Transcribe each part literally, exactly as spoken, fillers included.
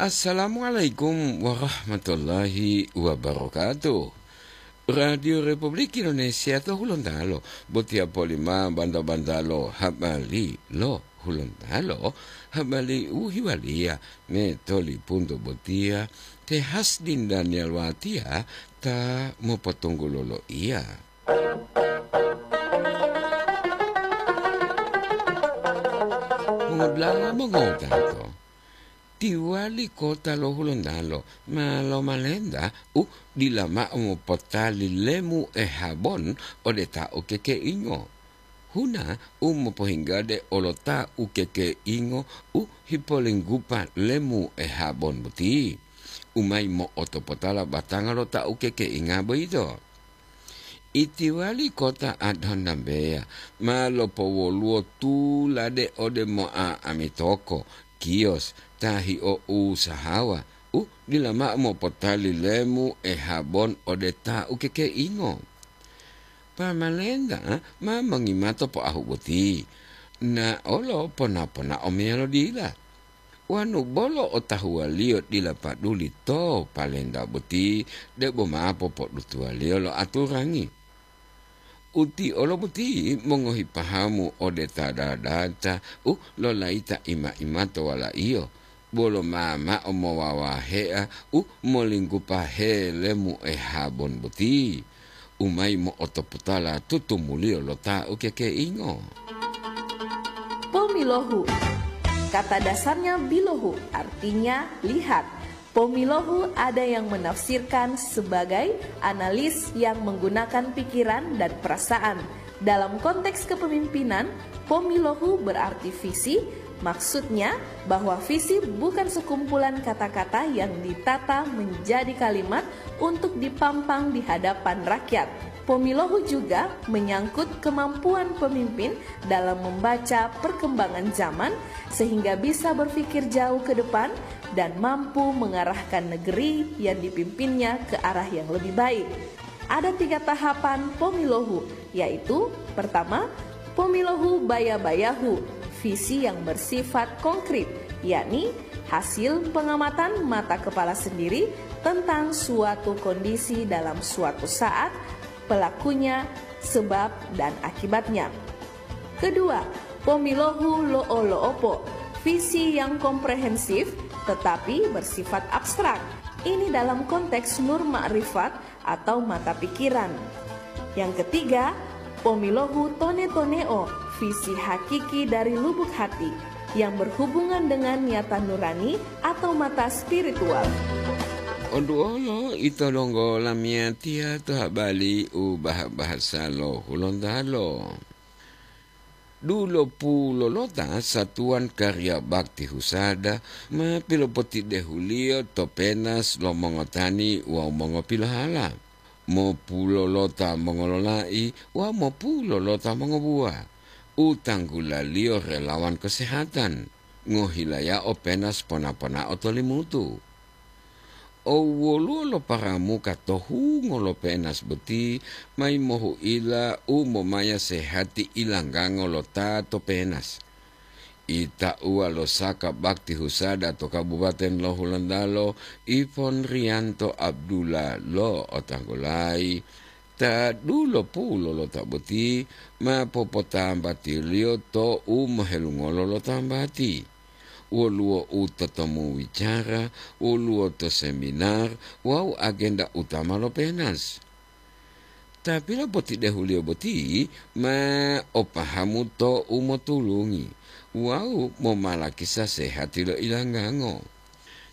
Assalamualaikum warahmatullahi wabarakatuh. Radio Republik Indonesia to Hulontalo, botiya polima banta-bantalo habari lo Hulontalo, habari u hiwaliya me tolipunto botiya te Hasdin Daniel Watiya ta mopotunggulo loiya. Mongodula'a mongowutato, tiwali kota lo Hulontalo ma lomalenta u dila mao mopotali lemu ehabon ode ta ukekeingo. Huna u mopohinggade olo ta ukekeingo u hipolinggupa lemu ehabon boti, u mayi mo'otopotala batanga lo ta ukekeinga boyito. Itiwali kota Adhonambeya ma lopowoluwo tulade ode mo'a'ami toko, kiyos, ta hio'usahawa u dila mao mopotali lemu ehabon ode ta ukekeingo. Pamalenta ma mongimato poahu boti, na olo pona-ponao meyalo dila. Wanu bolo otahuwaliyo dila paduli to palenta boti, debo ma popodutuwaliyo lo aturangi. Uti olo boti mongohi pahamu ode ta dadata u lolayita ima-imato walaiyo, bolo ma mao mowawahea u molinggupa helemu ehabon boti, u mayi mo'otopotala tutumuliyo lo ta ukekeingo. Pomilohu. Kata dasarnya bilohu, artinya lihat. Pomilohu ada yang menafsirkan sebagai analis yang menggunakan pikiran dan perasaan. Dalam konteks kepemimpinan, pomilohu berarti visi, maksudnya bahwa visi bukan sekumpulan kata-kata yang ditata menjadi kalimat untuk dipampang di hadapan rakyat. Pomilohu juga menyangkut kemampuan pemimpin dalam membaca perkembangan zaman sehingga bisa berpikir jauh ke depan dan mampu mengarahkan negeri yang dipimpinnya ke arah yang lebih baik. Ada tiga tahapan pomilohu, yaitu pertama, pomilohu baya-bayahu, visi yang bersifat konkret, yakni hasil pengamatan mata kepala sendiri tentang suatu kondisi dalam suatu saat, pelakunya, sebab, dan akibatnya. Kedua, pomilohu lo'o-lo'opo, visi yang komprehensif tetapi bersifat abstrak. Ini dalam konteks nur makrifat atau mata pikiran. Yang ketiga, pomilohu tone-toneo, visi hakiki dari lubuk hati yang berhubungan dengan niatan nurani atau mata spiritual. Oduolo ito donggo lamiyatiya to habari u bah-bahasa lo Hulontalo. Dulopulolota satuwan kariya bakti husada ma pilopotidehuliyo to penas lo mongotani wawu mongopilohala, mopulolota mongololai wawu mopulolota mongobuwa, u tanggulaliyo relawan kesehatan, ngohilayao penas pona-ponao to Limutu. Owoluwo lo paramuka to hungo lo penas boti mayi mohu'ila u momaya sehati ilanggango lo ta to penas. Itauwa lo saka bakti husada to Kabupaten lo Hulontalo, Ipon Riyanto Abdullah lo Otanggolayi, ta dulopulolota boti ma popotambatiliyo to u mohelungolo lo tambati. Woluwo u totomu wicara, woluwo to seminar wawu agenda utama lo penas. Ta pilopotidehuliyo boti ma o pahamu to u motulungi wawu momalakisa sehati lo ilanggango.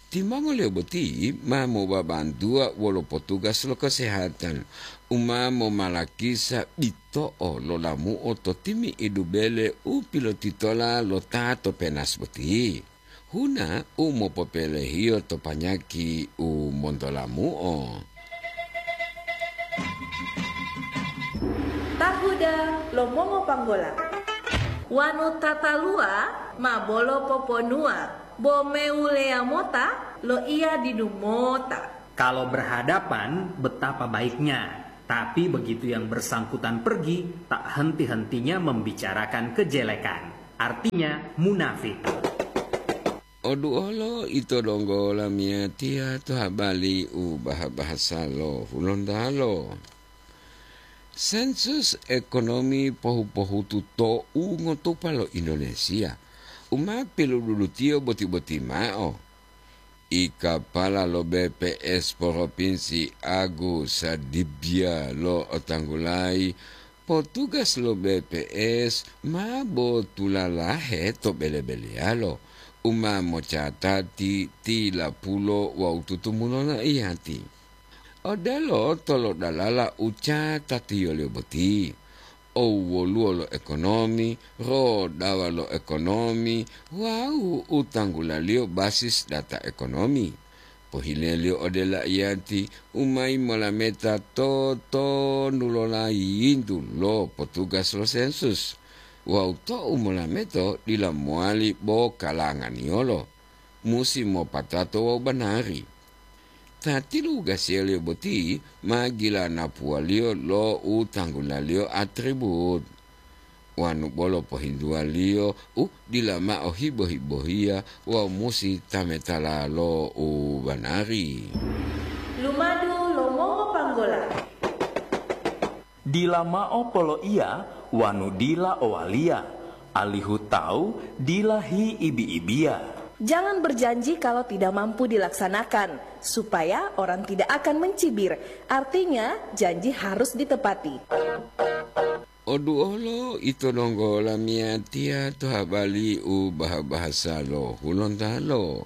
Timongoliyo boti ma mobabantuwa wolo potugas lo kesehatan u ma momalakisa bito'o lo lamu'o to timi'idu bele u pilotitola lo ta to penas boti. Huna u mopopelehiyo to panyaki u montolamu'o. Tahuda lo mongopanggola. Wanu tataluwa ma bolo poponuwa, bo mewuleya mota loiya didu mota. Kalau berhadapan, betapa baiknya. Tapi begitu yang bersangkutan pergi, tak henti-hentinya membicarakan kejelekan. Artinya, munafik. Oduolo ito donggo lamiyatiya to habari u baha-bahasa lo Hulontalo. Sensus ekonomi pohu-pohutu to u ngotupa lo Indonesia, u ma pilududutiyo boti-boti mao. I kapala lo B P S Propinsi Agus Sadibya lo otanggulayi, potugas lo B P S ma botulalahe to bele-beleyalo u ma mocatati tilapulo wawu tutumulo loiyati. Odelo tolodalala u catatiyoliyo boti, o woluwo lo ekonomi, rodawa lo ekonomi, wawu u tanggulaliyo basis data ekonomi. Pohileliyo ode laiyati u mayi molameta to tonu lo layintu lo potugas lo sensus, wawu tou molameto dila mowali bo kalanganiyolo, musi mopatato wawu banari. Ta tilugasiyaliyo boti ma gilanapuwaliyo lo u tanggulaliyo atribut. Wanu bolo pohintuwaliyo u dila mao hibo-hibohiya wawu musi tametala lo u banari. Lumadu lo mongopanggola. Dila mao poloiya wanu dila owaliya, alihu tawu dila hiibi-ibiya. Jangan berjanji kalau tidak mampu dilaksanakan, supaya orang tidak akan mencibir. Artinya, janji harus ditepati. Oduolo ito donggo lamiyatiya to habari u baha-bahasa lo Hulontalo.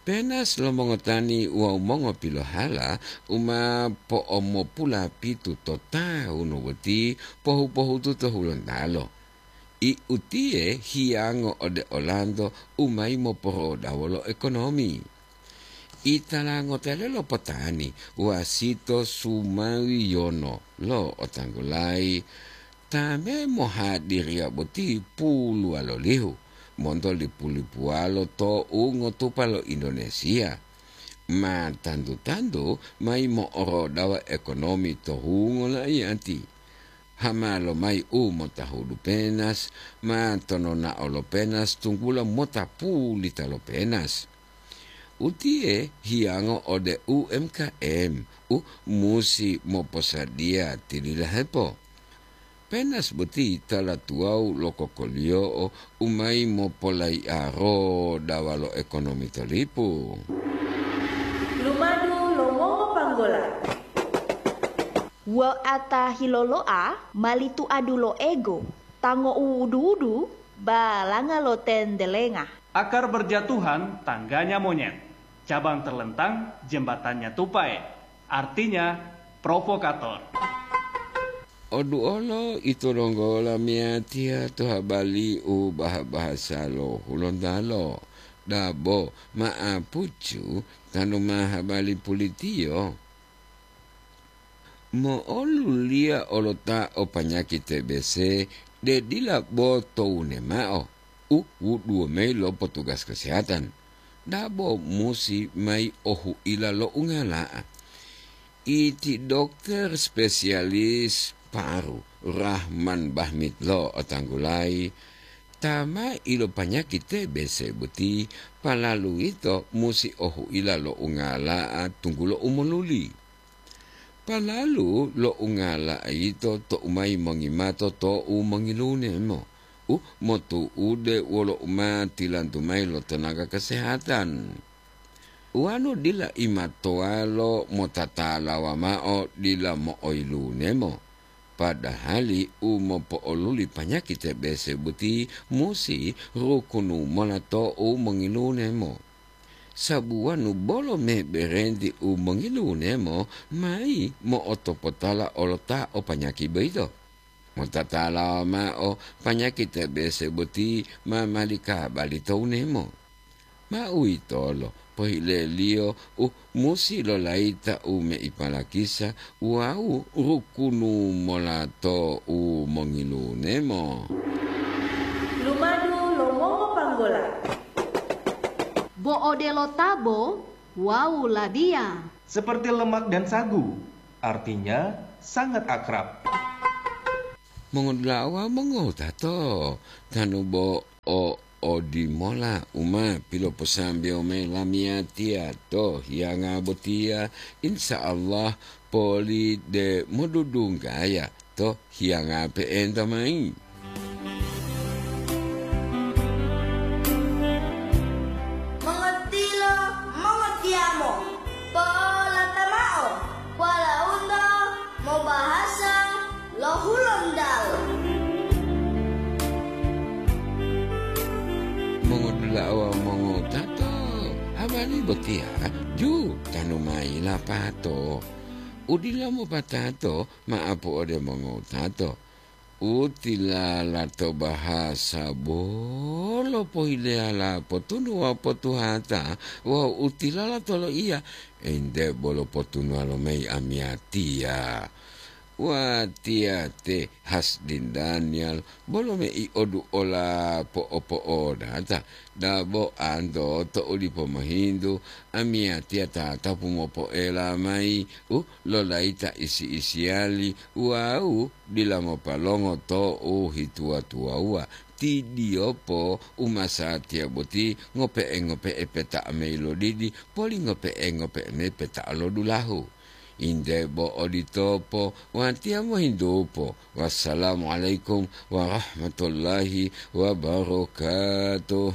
Penas lo mongotani wawu mongopilohala u ma po'omopulapitu to tawunu boti pohu-pohutu to Hulontalo. I utiye hiyango ode olanto u mayi moporodawo lo ekonomi. Italangote lo potani wasito sumawiyono lo otanggulayi ta me mohadiriya boti puluwalolihu monto lipu-lipuwalo to u ngotupa lo Indonesia. Ma tantu-tantu mayi mo'orodawa ekonomi to hungo laiyati. Hama lomayi u motahudu penas, ma tononao lo penas tunggulo mota pulita lo penas. Utiye hiyango ode U M K M u musi moposadiya tililahepo. Penas boti tala tuwawu lo kokoliyo'o u mayi mopolaiya rodawa lo ekonomi to lipu. Lumadu lo mongopanggola. Wo'ata hilolo'a mali tuadu lo ego, tango uwudu-wudu, balanga lo tendelenga. Akar berjatuhan tangganya monyet, cabang terlentang jembatannya tupai, artinya provokator. Oduolo ito donggo lamiyatiya to habari u baha-bahasa lo Hulontalo, dabo ma'apucu tanu ma habari pulitiyo. Mo'oluliya olota o panyaki T B C de dila bo towune mao u wuduwo mayi lo potugas kesehatan, dabo musi mayi ohuila lo ungala'a. Iti dokter spesialis paru Rahman Bahmid lo otanggulayi, ta ma ilopanyaki T B C boti, palalu ito musi ohuila lo ungala'a tunggulo u moluli. Palalu lo ungala'a yito to'u mayi mongimato to'u mongilunemo, u motu'ude wolo u ma tilantu mayi lo tenaga kesehatan. Wanu dila imatowalo motatalawa mao dila mo'oilunemo, padahali u mopo'oluli panyaki T B C boti musi rukunu mola to'u mongilunemo. Sabuwanu bolo meberenti u mongilunemo mayi mo'otopotala olota o panyaki boyito. Motatalawa mao panyaki T B C boti ma mali kabali to unemo. Ma uwitolo pohileliyo u musi lolayita u meipalakisa wawu rukunu mola to u mongilunemo. Lumadu lo mongopanggola. Bo odelo tabo wawu labiya. Seperti lemak dan sagu, artinya sangat akrab. Mongodula'a wawu mongowutato, tanu bo o odimola u ma piloposambewo mayi lamiyatiya to hiyanga botiya, insya Allah poli de modudunggaya to hiyanga pe'enta mayi. Mongotilo, mongotiyamo, polata mao, walaundo mobahasa lo Hulontalo. Mongodula'a wawu mongotato, habari botiya ju tanu mayi lapato. Udila mopatato ma'apu ode mongotato. Utilala to bahasa bolo pohileyala potunu wawu potuhata, wawu utilala to loiya, ente bolo potunuwalo mayi amiyatiya. Watiya te Hasdin Daniel, bolo mei oduola po'opo'odata, dabo anto to u dipo mohintu, amiyatiya tatapu mopoela mayi u lolayita isi-isiyali wawu dila mopalongo to u hituwa-tuwawuwa. Tidiyopo umasatiya boti ngope'e-ngope'e peta'a mayi lodidi, poli ngope'e-ngope'e mayi peta'a lodulahu. Inde bo oditopo, watiya mohintupo. Wassalamualaikum warahmatullahi wabarakatuh.